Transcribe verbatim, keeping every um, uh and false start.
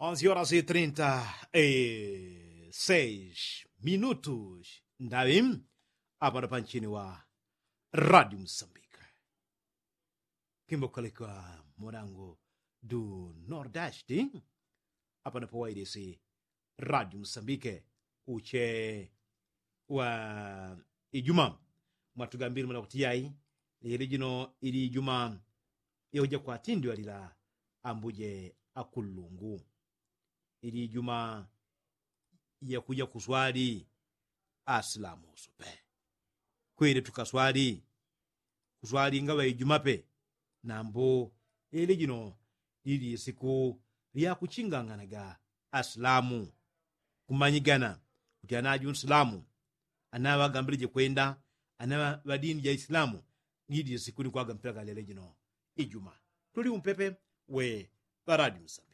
Onzi horas e trinta e seis minutos ndaŵi. Apano panchini wa radio musambika kimbokoleka mulango du nordasti. Apano pawailisi radio musambike uche wa ijuma mwatugambili mwana kuti yai lili jino ili ijuma yakuja kwatindwalila ambuje akullungu. Ili ijuma yakuja kuswali asilamu usupe kwili tukaswali kuswali ngaŵa ijuma pe. Nambu ili jino lili isiku lyakuchinganganaga asilamu kumanyigana kuti anaju nsilamu anaŵagambilije kwenda anaŵa dini ja isilamu. Lili isiku ni kwagampila galele jino ijuma tuli umpepe we ŵaradi musala.